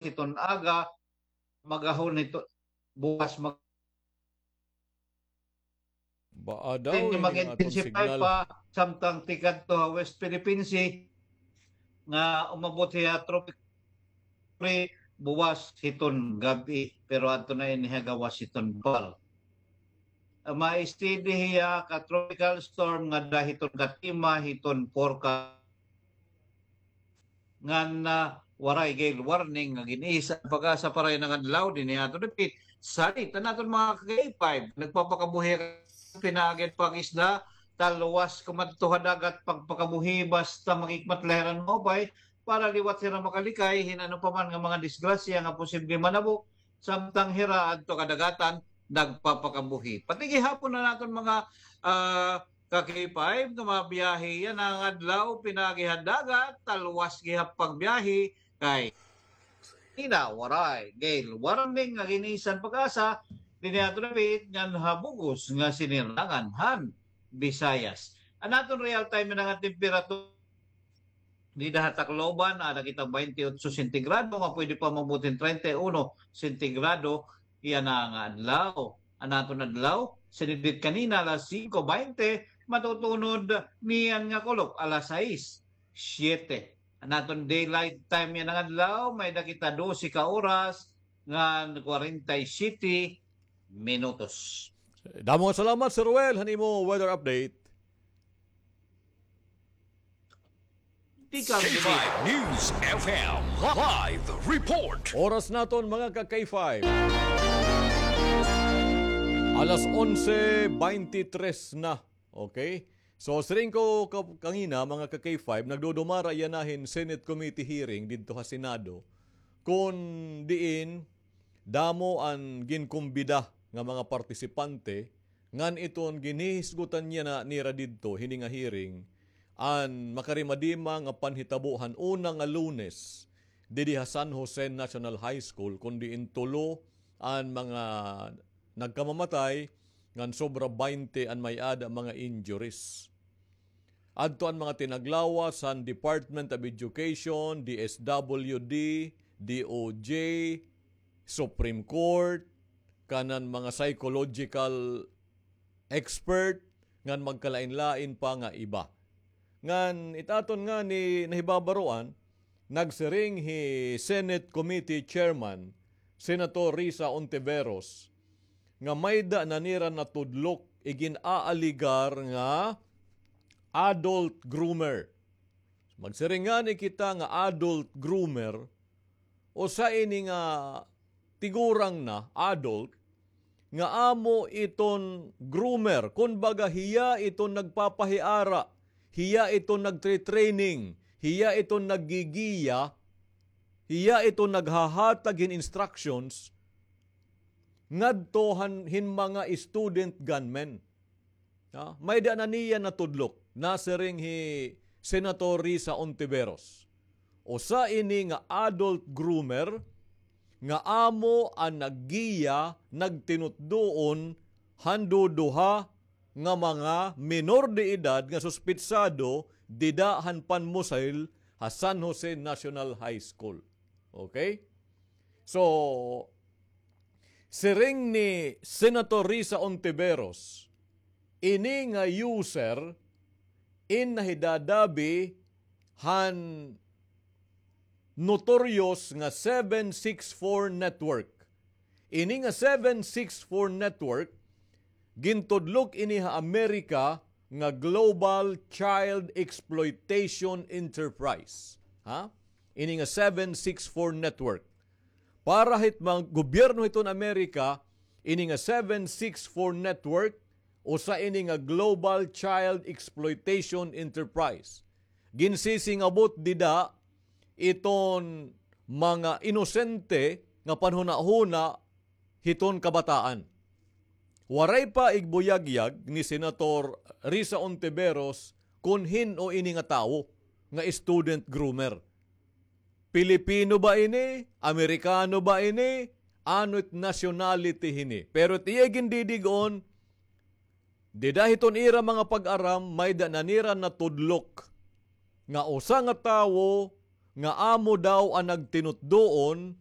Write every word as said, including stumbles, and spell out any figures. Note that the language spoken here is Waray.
hiton aga, magahon hiton buwas mag- Baa daw ini nga aton signal. Mag-intensify pa, samtang tikadto ha West Philippine Sea, nga umabot hiya tropic buwas hiton gab-i, pero adto na ini ha gawas hiton pal. Ah, ma-steady hiya ka tropical storm nga dara hiton katima hiton forecast ngan, ah, waray gale warning nga gin-isa an PAGASA para yana nga adlaw dinhi ha aton dapit. Salit an aton mga ka-K five, nagpapakabuhi pinaagi hin pag-isda, talwas kumadto ha dagat, pagpakabuhi basta makikmat la hira hin maupay, para liwat hira makalikay hin ano pa man nga mga disgrasya nga posible manabo, samtang hira adto kadagatan nagpapakabuhi. Pati gihapon an aton mga, ah, ka-K five nga mabiyahe yana nga adlaw, pinaagi ha dagat, talwas gihap pagbiyahe, kay ina waray gale warning nga gin-isa an PAGASA dinhi ha aton dapit ngan ha bug-os nga sinirangan han Visayas. An aton real time nga temperature dida ha Tacloban, ada kita baynte otso sentigrado, nga pwede pa maabot hin treinta y uno sentigrado yana nga adlaw. An aton adlaw, sinidnit kanina alas singko baynte, matutunod niyan nga kulop alas sais, siyete. An aton daylight time yana nga adlaw, may-ada kita dose ka oras ngan kwarenta y siyete minutos. Damo nga salamat, Sir Ruel, han imo weather update. Tikang K five News F M live report. Oras naton, mga ka-K five. Alas onse beintitres na. Okay? So, siring ko ka-, kangina, mga ka-K five, nagdudumara yana hin Senate Committee hearing didto ha Senado. Kon diin, damo an ginkumbida nga mga partisipante, ngan iton ginhihisgutan yana nira didto hini nga hearing, an makarimadima nga panhitabo han una nga Lunes didi ha San Jose National High School, kon diin tulo an mga nagkamamatay, ngan sobra baynte an may-ada mga injuries. Adto an mga tinaglawas han Department of Education, D S W D, D O J, Supreme Court, kanan mga psychological expert, ngan magkalain-lain pa nga iba. Ngan it aton ngani nahibabaroan, nagsiring hi Senate Committee Chairman, Senator Risa Ontiveros, nga mayda na nira natudlok igin-aaligar nga adult groomer. Magsiring ngani kita nga adult groomer, usa ini nga tigurang na, adult, nga amo iton groomer, kumbaga hiya iton nagpapahiara, hiya iton nagtre-training, hiya iton naggigiya, hiya iton naghahatag hin instructions ngadto han, hin mga student gunmen. Ha? Mayda na niya natudlok, nasiring hi Senator Risa Ontiveros. Usa ini nga adult groomer nga amo an naggiya, nagtinutdoon han duduha nga mga menor de edad nga suspetsado dida han panmusil ha San Jose National High School. Okay? So, siring ni Senator Risa Ontiveros, ini nga user in nahidadabi han notorious nga seven six four network. Ini nga seven six four network, gintudlok ini ha Amerika nga Global Child Exploitation Enterprise. Ha? Ini nga seven six four network. Para hit mga gobyerno hiton Amerika, ini nga seven six four network, usa ini nga Global Child Exploitation Enterprise. Ginsisingabot dida iton mga inosente nga panhunahuna hiton kabataan. Waray pa igbuyagyag ni Senator Risa Ontiveros kon hin-o ini nga tawo nga student groomer. Pilipino ba ini? Amerikano ba ini? Ano it nationality hini? Pero it iya gindidig-on, dida hiton ira mga pag-aram, mayda na nira natudlok nga usa nga tawo nga amo daw an nagtinutdoon